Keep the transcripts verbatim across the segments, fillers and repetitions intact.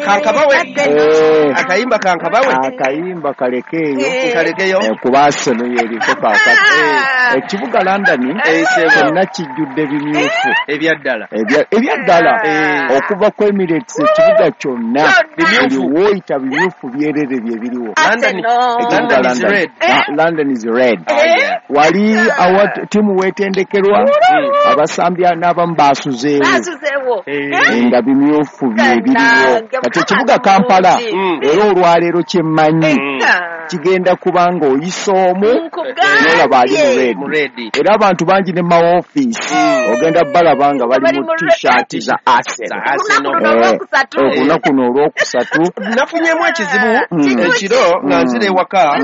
Kankabawe akayimba kankabawe akayimba kalekeyo kalekeyo kuba Arsenal yeriko kakati ekibuga London kyonna kijjudde bimyufu ebyaddala ebyaddala okuva ku Emirates ekibuga kyonna bimyufu woyita bimyufu byerere bye biriwo. London is red. London is red. Wali awa timu wetendekerwa abasambi n'abamu basuzeewo nga bimyufu bye biriwo. Kati ekibuga Kampala era olwaleero kyemmanyi kigenda kubanga oyisa omu n'olaba ali mu red. Era abantu bangi ne ma office ogenda balaba nga bali mu t-shirt za Arsenal. Olunaku luno olwokusatu nafunyemu ekizibu ekiro nga nzira ewaka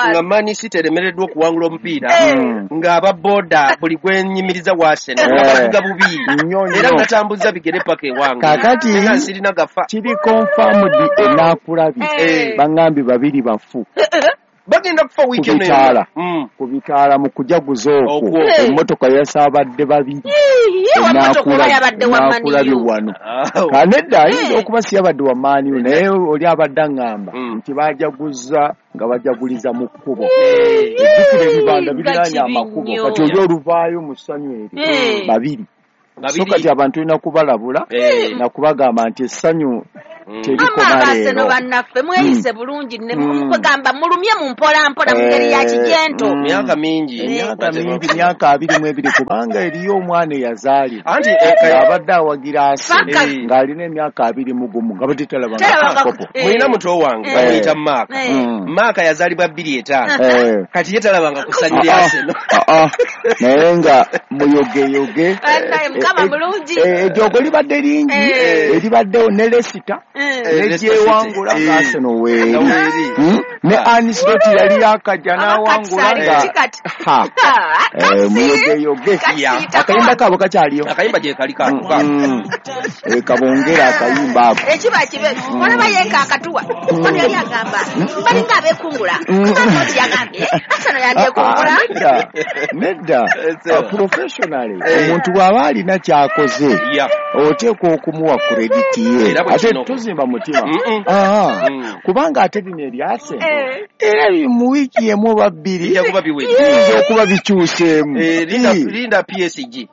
nga Man City eremereddwa okuwangula omupiira ng'aba boda buli gwe nnyimiriza wa Arsenal nga bavuga bubi era ngatambuza bigere paka ewange. Kakati sirina gafa kiri confirmed enaakulabye bangambye babiri bafu bagenda kufa weekend eno ku bitaala mu kujaguza okwo emmotoka yasaabadde babiri enaakulabye wano. Kanedda ayinza okuba si yabadde wa Man U naye oli abadde aŋŋamba nti bajaguza nga bajaguliza mu kkubo. Ejjukira ebibanda biriraanye amakubo kati oli oluvaayo mu ssanyu eryo babiri. So kati abantu olina kubalabula nakubagamba nti essanyu terikoma leero. Bannaffe mweyise bulungi mukugamba mulumye mu mpola mpola mu ngeri ya kijento. Myaka mingi emyaka mingi myaka abiri mu ebiri kubanga eriyo omwana eyazaalibwa abadde awagira Arsenal ng'alina emyaka abiri mu gumu nga batetalabanga kopo. Mulina muto wange bamuyita Maaka. Maaka yazaalibwa bbiri etaano kati ye talabanga ku ssanyu lya Arsenal naye nga muyogeyoge. Mukama mulungi. Ejjoogo libadde lingi eribaddewo ne Leicester negyewangula nga Arsenal weeri ne Ancelotti yali yakajja n'awangula nga muyogeyoge. Akayimba kaabo kakyaliyo akayimba gye kali kabongera akayimba ako ekiba kibe olaba yenka akatuwa ono yali agamba balinga abeekungula Ancelotti yagambye Arsenal yandyekungula. Nedda professionally omuntu bw'aba alina kyakoze oteekwa okumuwa credit ye ate tuzimba mutima kubanga ate bino ebya Arsenal era mu wiiki emu oba bbiri biyinza okuba bikyuseemu. Linda P S G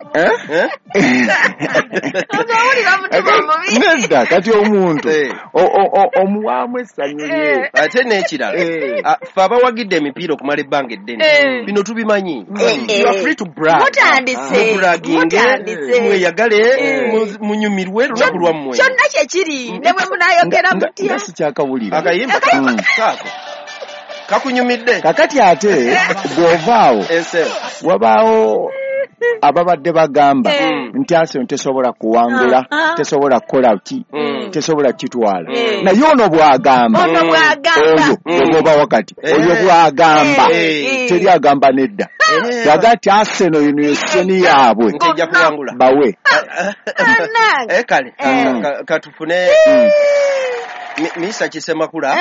nedda kati omuntu omuwaamu essanyu lye. Ate n'ekirala ffe abawagidde emipiira okumala ebbanga eddene bino tubimanyi. You are free to brag. Mutandise mweyagale munyumirwe lunaku lwammwe kyonna kyekiri ne bwe munaayogera mutya sikyakawulira akayimba kaako kakunyumidde. Kakati ate bw'ovaawo wabaawo ababadde bagamba nti Arsenal tesobola kuwangula tesobola kukola ki tesobola kitwala naye ono bw'agamba oyo ogoba wakati oyo bw'agamba teri agamba nedda yaga ti Arsenal ino eseni yaabwe bawe. Kale katufune Misa Kisemakula